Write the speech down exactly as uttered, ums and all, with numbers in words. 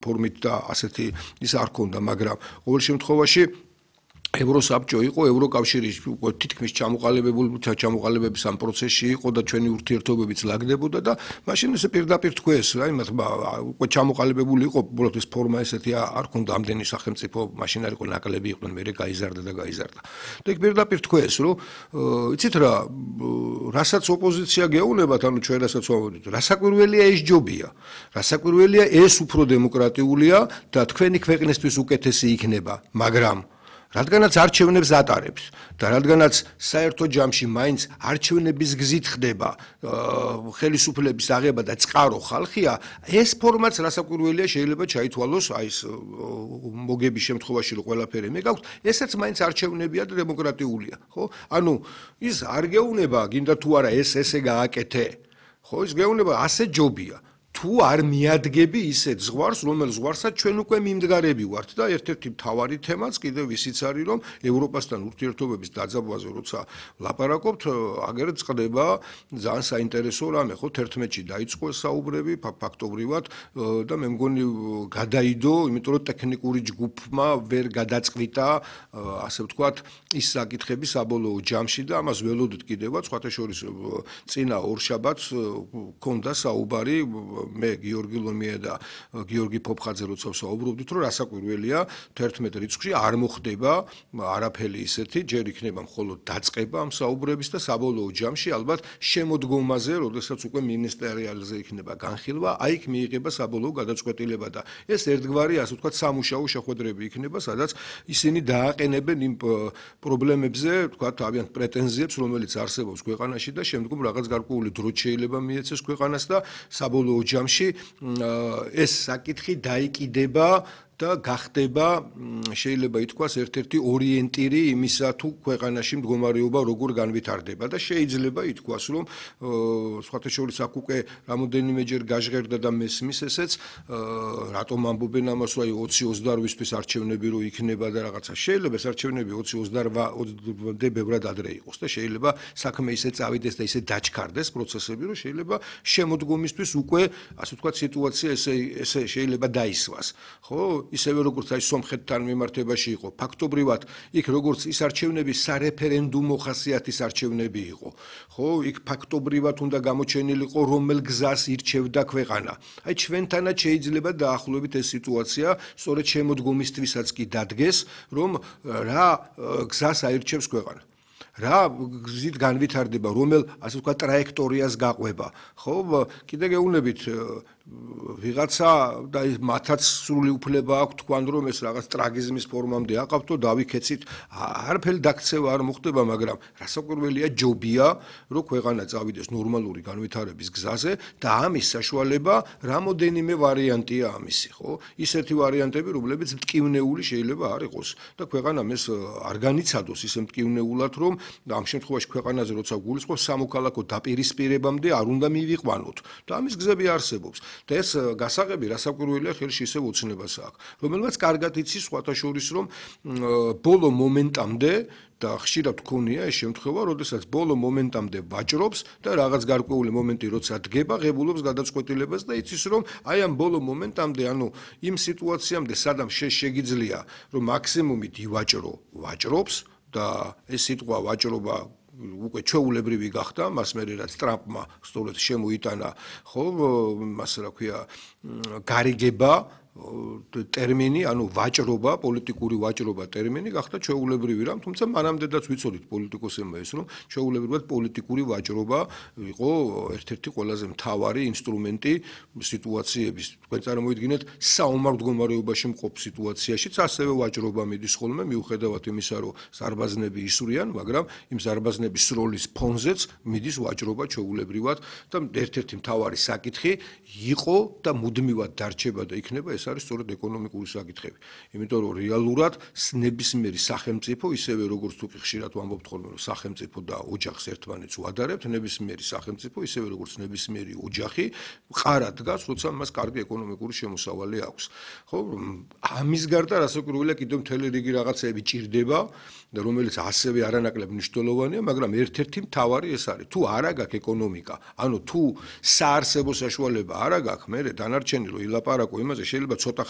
ფორმით და ასეთი ის არ ქონდა, მაგრამ ყოველ შემთხვევაში ევროსაბჭო იყო, ევროკავშირი თითქმის ჩამოყალიბებული ჩამოყალიბების ამ პროცესში იყო და ჩვენი ურთიერთობებიც ლაგდებოდა და მაშინ ესე პირდაპირ თქვეს რა, იმათ უკვე ჩამოყალიბებული იყო, უბრალოდ ეს ფორმა ესეთი არ ქონდა, ამდენი სახელმწიფო მაშინ არ იყო ნაკლები იყვნენ, მერე გაიზარდა და გაიზარდა. და იქ პირდაპირ თქვეს, რომ იცით რა, რასაც ოპოზიცია გეუბნებათ, ანუ ჩვენ რასაც ვამბობთ, რასაკვირველია ეს ჯობია, რასაკვირველია ეს უფრო დემოკრატიულია და თქვენი ქვეყნისთვის უკეთესი იქნება, მაგრამ რადგანაც არჩევნებს ატარებს და რადგანაც საერთო ჯამში მაინც არჩევნების გზით ხდება ხელისუფლების აღება და წყარო ხალხია, ეს ფორმაც რასაკვირველია შეიძლება ჩაითვალოს აი ეს მოგების შემთხვევაში რომ ყველაფერი მე გაქვს, ესაც მაინც არჩევნებია და დემოკრატიულია, ხო? ანუ ის არ გეუბნება, გინდა თუ არა ეს ესე გააკეთე, ხო? ის გეუბნება ასე ჯობია. თუ არ მიადგები ისეთ ზღვარს, რომელ ზღვარსაც ჩვენ უკვე მიმდგარები ვართ და ერთ-ერთი მთავარი თემაც კიდევ ისიც არის, რომ ევროპასთან ურთიერთობების დაძაბვაზე როცა ლაპარაკობთ, აგერ წყდება ძალიან საინტერესო რამე, ხო, თერთმეტში დაიწყო საუბრები ფაქტობრივად და მე მგონი გადაიდო, იმიტომ რომ ტექნიკური ჯგუფმა ვერ გადაწყვიტა, ასე ვთქვათ, ის საკითხები საბოლოო ჯამში და ამას ველოდით კიდევაც, სხვათა შორის წინა ორშაბათს ქონდა საუბარი მე გიორგი ლომია და გიორგი ფოფხაძე როცა ვსაუბრობდით, რომ რასაკვირველია თერთმეტ რიცხვში არ მოხდება არაფერი ისეთი, ჯერ იქნება მხოლოდ დაწყება ამ საუბრების და საბოლოო ჯამში ალბათ შემოდგომაზე, როდესაც უკვე მინისტერიალზე იქნება განხილვა, აი იქ მიიღება საბოლოო გადაწყვეტილება და ეს ერთგვარი, ასე ვთქვათ, სამუშაო შეხვედრები იქნება, სადაც ისინი დააყენებენ იმ პრობლემებზე, ვთქვათ, თავიანთ პრეტენზიებს, რომელიც არსებობს ქვეყანაში და შემდგომ რაღაც გარკვეული დროით შეიძლება მიეცეს ქვეყანას და საბოლოო ჯამში ეს საკითხი დაიკიდება და გახდება შეიძლება ითქვას ერთ-ერთი ორიენტირი იმისა თუ ქვეყანაში მდგომარეობა როგორ განვითარდება და შეიძლება ითქვას რომ სხვათა შორის აქ უკვე რამოდენიმეჯერ გაჟღერდა და მესმის ესეც რატომ ამბობენ ამას რომ აი ოცი ოცდაოთხისთვის არჩევნები რო იქნება და რაღაცა შეიძლება ეს არჩევნები ოცი ოცდაოთხამდე ბევრად ადრე იყოს და შეიძლება საქმე ისე წავიდეს და ისე დაჩქარდეს პროცესები რომ შეიძლება შემოდგომისთვის უკვე ასე ვთქვათ სიტუაცია ესე ესე შეიძლება დაისვას ხო ისევე როგორც აი სომხეთთან მიმართებაში იყო ფაქტობრივად იქ როგორც ის არჩევნები სარეფერენდუმო ხასიათის არჩევნები იყო ხო იქ ფაქტობრივად უნდა გამოჩენილიყო რომელ გზას ირჩევდა ქვეყანა აი ჩვენთანაც შეიძლება დაახლოებით ეს სიტუაცია სწორედ შემოდგომისთვისაც კი დადგეს რომ რა გზას აირჩევს ქვეყანა რა გზით განვითარდება რომელ ასე ვთქვათ ტრაექტორიას გაყვება ხო კიდე გეუბნებით ვიღაცა და მათაც სრული უფლება აქვს თქვან რომ ეს რაღაც ტრაგიზმის ფორმამდე აყავთო დავიქეცით არაფერი დაქცევა არ მოხდება მაგრამ რასაკვირველია ჯობია რომ ქვეყანა წავიდეს ნორმალური განვითარების გზაზე და ამის საშუალება რამოდენიმე ვარიანტია ამისი ხო ისეთი ვარიანტები რომლებიც მტკივნეული შეიძლება არ იყოს და ქვეყანამ ეს არ განიცადოს ისე მტკივნეულად რომ ამ შემთხვევაში ქვეყანაზე როცა გულისხმობს სამოქალაქო დაპირისპირებამდე არ უნდა მივიყვანოთ და ამის გზები არსებობს და ეს გასაღები რასაკვირველია ხელში ისევ ოცნებას აქვს რომელმაც კარგად იცის სხვათა შორის რომ ბოლო მომენტამდე და ხშირად გქონია ეს შემთხვევა, როდესაც ბოლო მომენტამდე ვაჭრობს და რაღაც გარკვეული მომენტი როცა დგება, ღებულობს გადაწყვეტილებას და იცის რომ აი ამ ბოლო მომენტამდე, ანუ იმ სიტუაციამდე სადამ შეგიძლია რომ მაქსიმუმით ივაჭრო, ვაჭრობს და ეს სიტყვა ვაჭრობა უკვე ჩვეულებრივი გახდა, მას მერე რაც ტრამპმა სწორედ შემოიტანა, ხო, მას რა ქვია, გარიგება ტერმინი, ანუ ვაჭრობა, პოლიტიკური ვაჭრობა ტერმინი გახდა ჩვეულებრივი რამ, თუმცა მანამდეაც ვიცოდით პოლიტიკოსებმა ეს რომ ჩვეულებრივად პოლიტიკური ვაჭრობა იყო ერთ-ერთი ყველაზე მთავარი ინსტრუმენტი სიტუაციების. თქვენ წარმოიდგინეთ საომარ მდგომარეობაში მყოფ სიტუაციაშიც ასევე ვაჭრობა მიდის ხოლმე, მიუხედავად იმისა, რომ ზარბაზნები ისვრიან, მაგრამ იმ ზარბაზნების სროლის ფონზეც მიდის ვაჭრობა ჩვეულებრივად და ერთ-ერთი მთავარი საკითხი იყო და მუდმივად დარჩება და იქნება ეს არის სწორედ ეკონომიკური საკითხები. იმიტომ რომ რეალურად ნებისმიერი სახელმწიფო, ისევე როგორც თუ ხშირად ვამბობთ ხოლმე, რომ სახელმწიფო და ოჯახს ერთმანეთს უადარებთ, ნებისმიერი სახელმწიფო, ისევე როგორც ნებისმიერი ოჯახი, ყარად დგას, როცა მას კარგი ეკონომიკური შემოსავალი აქვს. ხო, ამის გარდა რასაკვირველია კიდევ მთელი რიგი რაღაცეები ჭირდება და რომელიც ასევე არანაკლებ მნიშვნელოვანია, მაგრამ ერთ-ერთი მთავარი ეს არის. თუ არა გაქვს ეკონომიკა, ანუ თუ საარსებო საშუალება არა გაქვს, მე დანარჩენი რომ ილაპარაკო იმაზე შეიძლება შეიძლება ცოტა ხნით